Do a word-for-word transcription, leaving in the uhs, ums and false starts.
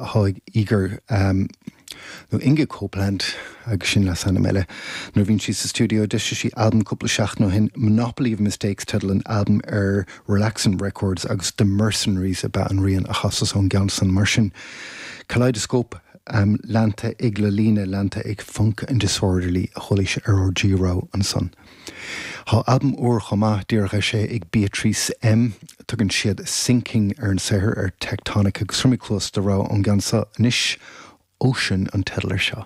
atá ag Igor um, nó Inga Copeland agus sin leasainm eile. Nuair bhíonn sí sa stiúideo d'eisigh sí albam cúpla seachtain ó shin Monopoly of Mistakes teideal an albam ar Relaxin Records agus The Mercenaries ab ea an rian a chasas ón gceann san mar sin. Kaleidoscope um, leanta ag Lalina leanta ag Funk and Disorderly a chuala ar ár dtrí ansan. Tá albam úr chomh maith díreach eisithe ag Beatrice M tugann siad Sinking ar an saothar ar Tectonic agus tabharfaidh mé cluas do rogha ón gceann seo anois Ocean an teideal air seo.